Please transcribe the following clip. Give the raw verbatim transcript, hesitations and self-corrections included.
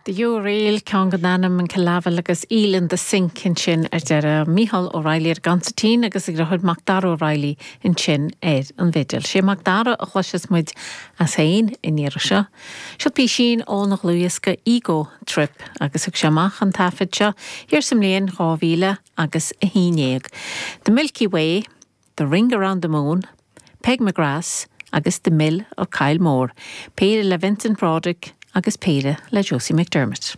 The Uriel ceann den ainm an Killavil agus Eel in the Sink ansin ar deireadh Mícheál O'Reilly ar consairtín agus a dheartháir Macdara O'Reilly ansin ar an bhfidil. Sé Macdara a chloisfeas muid as féin in iarra seo. Seo písín óna dhlúthdhiosca Ego Trip agus thug sé amach an taifead seo thiar sa mbliain dhá mhíle agus a haon déag. The Milky Way, The Ring Around the Moon, Peg McGrath agus The Mill of Kylemore, péire le Vincent Broderick agus péire le Josie McDermott.